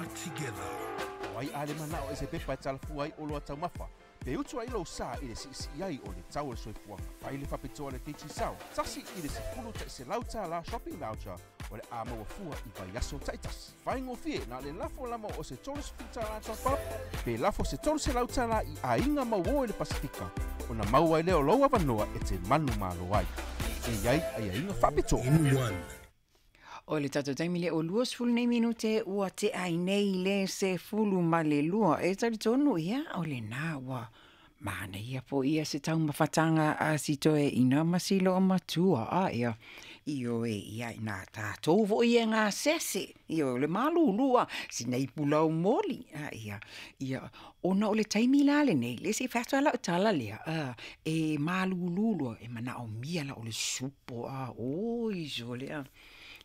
Better together. O ai a le manao e se pepa e talafua ai oloa taumafa, pe utu ai lou sa i le siisii ai o le tau o le soifuaga. Fai le faapitoa a le Digicel, $1 $100 shopping voucher o le a maua fua i vaiaso taitasi. Faigofie na o le lafo lava o se $30 top up pe lafo se $300 i aiga mauō i le Pasefika ona maua ai lea o lou avanoa e te manumalo ai. E i ai aiaiga faapitoa. In one. O le tatou taimi lea ua 20 nei minute ua tea ai nei le 12. E talitonu ia o lena ua manaia foi ia se taumafataga a si toeaina ma si loomatua a ia ioe ia ina tatou foi e gasese ioe o le malulu a sina ipu laumoli a ia ia ona o le taimi la lenei lea se i fai atu lava lau tala lea a e malulu loa e manaomia la o le supo a oi sole a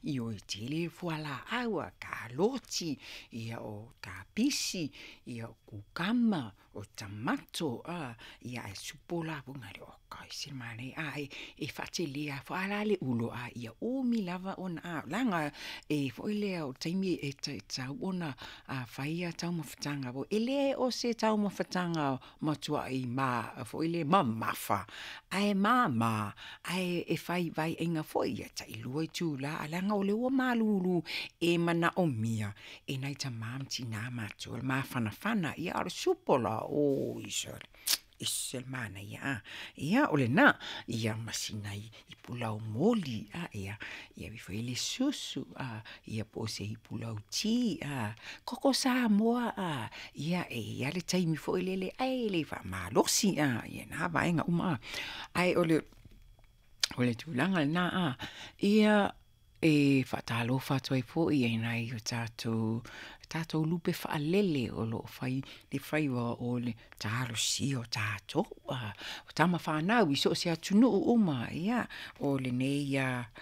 ioe tele fualaau a kaloti ia o kapisi ia o kukama o tamato a ia ae supo la foi na lea oka e ese le manaia a e faatelea foi a la le ulo a ia umi lava ona a leaga e foi lea o le taimi e tatau ona fai ia taumafataga foi e le o se taumafataga matuai ma foi lea mamafa ae mama ae e fai vaeaiga foi ia tailua itula ae leaga o lea ua malulu e manaomia e nai tama ma tina matutua le mafanafana ia a o le supo la oi sole ese le manaia a ia o lena ia ma sina ipu laumoli a ia ia ave ifo i ai le susu a ia po o se ipu lauti a koko Samoa a ia e i ai lava le taimi foi lele ae le faamalosi a ia na vaega uma a. Ae o le o le tulaga lena a ia e faatalofa atu ai foi i nai o tatou tatou lupe faalele o lo o fai le faiva o le talosia o tatou a o tama fanau i so o se atunuu uma ia o lenei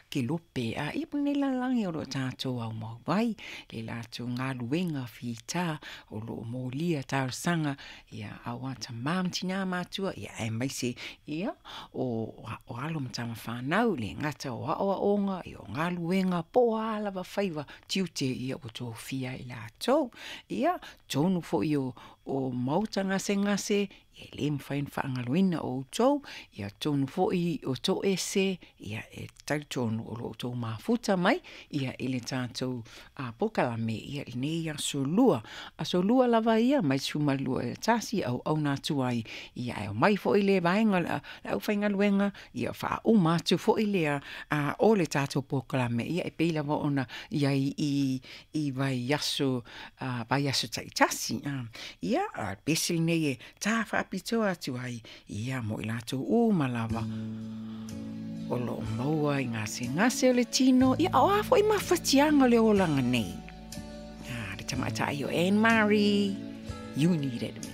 kelope a ia po o lenei lalolagi o lo o tatou aumau ai le latou galuega fita o lo o molia talosaga ia aua tama ma tina matutua ia aemaise ia o alo ma tama fanau, e le gata o aoaoga, o galuega po o a lava faiva tiute ia ua tofia e i latou. Ia, totonu foi o maota gasegase, e le mafai ona faagaloina outou, ia totonu foi o toese, ia e talitonu o lo o outou mafuta mai ia i le tatou polokalame i lenei aso Lua. Aso Lua lava ia mai le 12 i le 1 e auauna atu ai, ia ae omai foi le vaega o le aufaigaluega ia faauma atu foi lea o le tatou polokalame ia e pei lava ona i ai i vaiaso vaiaso taitasi. Ia, a o le pese lenei e ta faapitoa atu ai ia mo i latou uma lava o lo o maua i gasegase o le tino, ia a o a foi mafatiaga o le olaga nei. Le tamaitai o Anne Marie, You Needed Me.